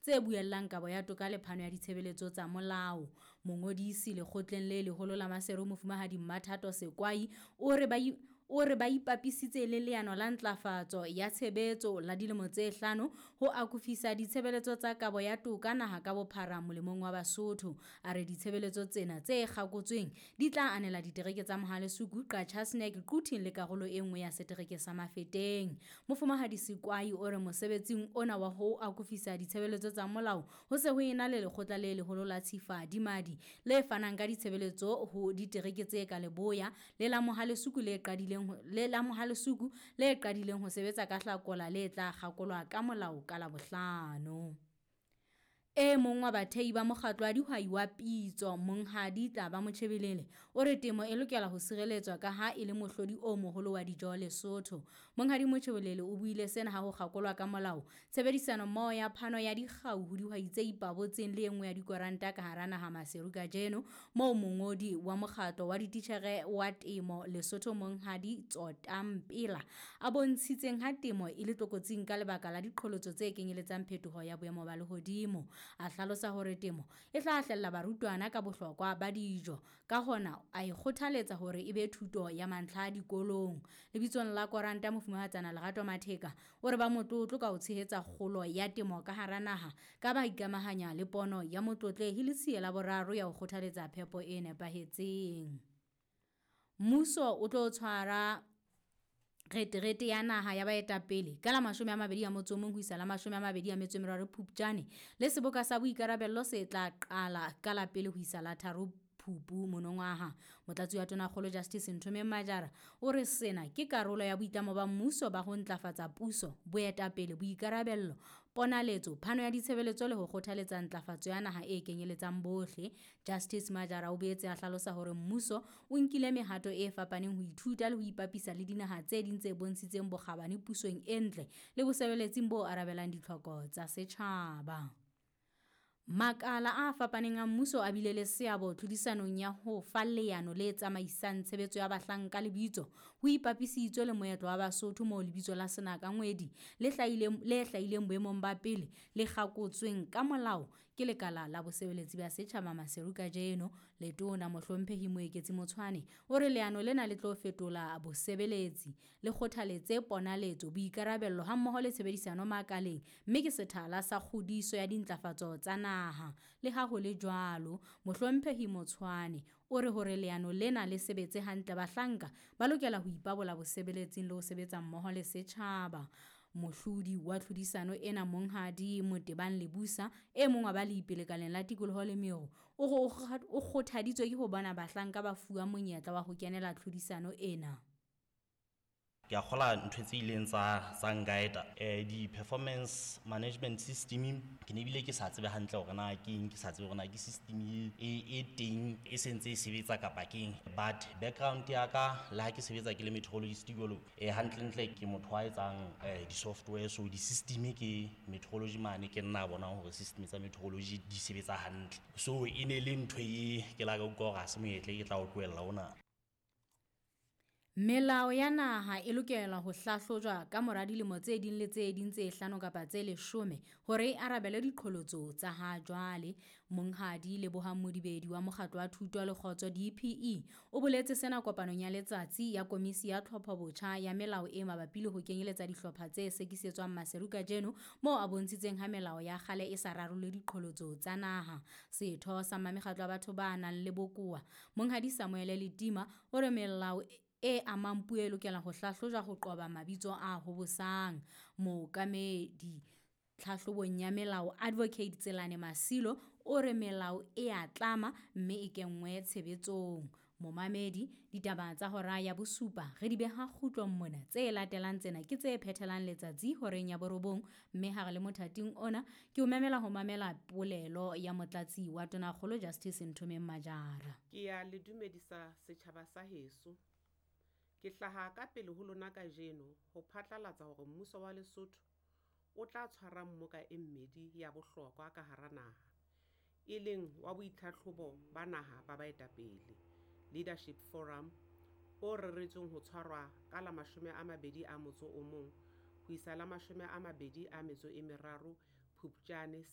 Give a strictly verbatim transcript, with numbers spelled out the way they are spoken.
tse buellang kabo ya toka le phano ya ditshebeletso tsa molao. Mongodisi lekgotleng le leholo la Maseru Mofumahadi Mmathato Sekwai o re ba o re ba ipapisitse le leano la ntlafatso ya tshebetso la dilemo tse hlano ho akofisa ditshebeletso tsa kabo ya toka naha ka bophara molemong wa Basotho. A re ditshebeletso tsena tse kgakotsweng di tla anela ditereke tsa Mohale'shoek, Qacha's Nek, Quthing le karolo e nngwe ya setereke sa Mafeteng. Mofumahadi Sekwai o re mosebetsing ona wa ho akofisa ditshebeletso tsa molao ho se ho ena le lekgotla le leholo la Tshifadimadi le fanang ka ditshebeletso ho ditereke tse ka leboya le la Mohale'shoek le qadileng le la Mohale'shoek le qadileng ho sebetsa ka Hlakola le tla kgakolwa ka molao ka Labohlano. E mong wa bathehi ba mokgatlo wa dihwai wa Pitso, Monghadi Tlaba Motjhebelele, o re temo e lokela ho sireletswa ka ha e le mohlodi o moholo wa dijo Lesotho. Monghadi Motjhebelele o buile sena ha ho kgakolwa ka molao tshebedisano mmoho ya phano ya dikgau ho dihwai tse ipabotseng le e nngwe ya dikoranta ka hara naha Maseru kajeno, moo mongodi wa mokgatlo wa dititjhere wa temo Lesotho Monghadi Tsotampela a bontshitseng ha temo e le tlokotsing ka lebaka la diqholotso tse kenyeletsang phetoho ya boemo ba lehodimo. A hlalosa hore temo e hlahlella barutwana ka bohlokwa ba dijo, ka hona a e kgothaletsa hore e be thuto ya mantlha dikolong. Lebitsong la koranta Mofumahatsana Lerato Matheka o re ba motlotlo ka ho tshehetsa kgolo ya temo ka hara naha ka ba ikamahanya le pono ya Motlotlehi Letsie la Boraro ya ho kgothaletsa phepo e nepahetseng. Mmuso o tlo tshwara reterete ya naha ya baetapele ka la mashome a mabedi a motso o mong ho isa la mashome a mabedi a metso e meraro Phupjane le seboka sa boikarabello se tla qala ka la pele ho isa la tharo Phupu monongwaha. Motlatsi wa Tonakgolo Justice Nthomeng Majara o re sena ke karolo ya boitlamo ba mmuso ba ho ntlafatsa puso, boetapele, boikarabello, ponaletso, phano ya ditshebeletso le ho kgothaletsa ntlafatso ya naha e kenyeletsang bohle. Justice Majara o boetse a hlalosa hore mmuso o nkile mehato e fapaneng ho ithuta le ho ipapisa le dinaha tse ding tse bontshitseng bokgabane pusong e ntle le bosebeletsing bo arabelang ditlhoko tsa setjhaba. Makala a fapaneng a mmuso a bile le seabo tlhodisanong ya ho fa leano le tsamaisang tshebetso ya bahlanka lebitso ho ipapisitswe le moetlo wa Basotho moo lebitso la Senakangwedi le hlahileng, le hlahileng boemong ba pele le kgakotsweng ka molao ke lekala la bosebeletsi ba setjhaba Maseru kajeno. Letona Mohlomphehi Moeketsi Motshwane o re leano lena le tlo fetola bosebeletsi, le kgothaletse ponaletso, boikarabello hammoho le tshebedisano makaleng, mme ke sethala sa kgodiso ya dintlafatso tsa naha. Le ha ho le jwalo, Mohlomphehi Motshwane o re hore leano lena le sebetse hantle, bahlanka ba lokela ho ipabola bosebeletsing le ho sebetsa mmoho le setjhaba. Mohlodi wa tlhodisano ena Monghadi Motebang Lebusa, e mong wa balepi lekaleng la tikoloho le meru, o re o kgothaditswe ke ho bona bahlanka ba fuwa monyetla wa ho kenela tlhodisano ena. Ke a kgola ntho tse ileng tsa tsa nkaeta eh di-performance management system ke ne ebile ke sa tsebe hantle hore na ke eng, ke sa tsebe hore na ke system e e teng e sentse e sebetsa kapa ke eng. But background ya ka le ha ke sebetsa ke le meteorologist jwalo, eh hantlentle ke motho wa etsang eh di-software, so di-system ke meteorology mane ke nna bonang hore system tsa meteorology di sebetsa hantle. So e ne le ntho e ke la ka utlwa hore ha se monyetla ke tla o tlohella ona. Melao ya naha e lokela ho hlahlojwa ka mora dilemo tse ding le tse ding tse hlano kapa tse leshome hore e arabele diqholotso tsa ha jwale. Monghadi Lebohang Modibedi wa Mokgatlo wa Thuto le Kgotso D P E o boletse sena kopanong ya letsatsi ya Komisi ya Tlhophobotjha ya Melao e mabapi le ho kenyeletsa dihlopha tse sekisetswang Maseru kajeno, moo a bontshitseng ha melao ya kgale e sa rarolle diqholotso tsa naha. Setho sa Mmamekgatlo wa batho ba nang le bokowa, Monghadi Samuel Letima, o re melao e amang puo e lokela ho hlahlojwa ho qoba mabitso a hobosang. Mookamedi tlhahlobong ya melao Advocate Tselane Masilo o re melao e a tlama mme e kenngwe tshebetsong. Momamedi, ditaba tsa hora ya bosupa re di beha kgutlong mona. Tse latelang tsena ke tse phethelang letsatsi horeng ya borobong, mme ha re le mothating ona ke o memela ho mamela polelo ya motlatsi wa Tonakgolo Justice Nthomeng Majara. Ke ya le dumedisa setjhaba sa heso. Ke hlaha ka pele ho lona kajeno ho phatlalatsa hore mmuso wa Lesotho o tla tshwara mmoka e mmedi ya bohlokwa ka hara naha, e leng wa boitlhatlhobo ba naha ba baetapele, Leadership Forum, o reretsweng ho tshwarwa ka la mashome a mabedi a motso o mong ho isa la mashome a mabedi a metso e meraro Phupjane selemo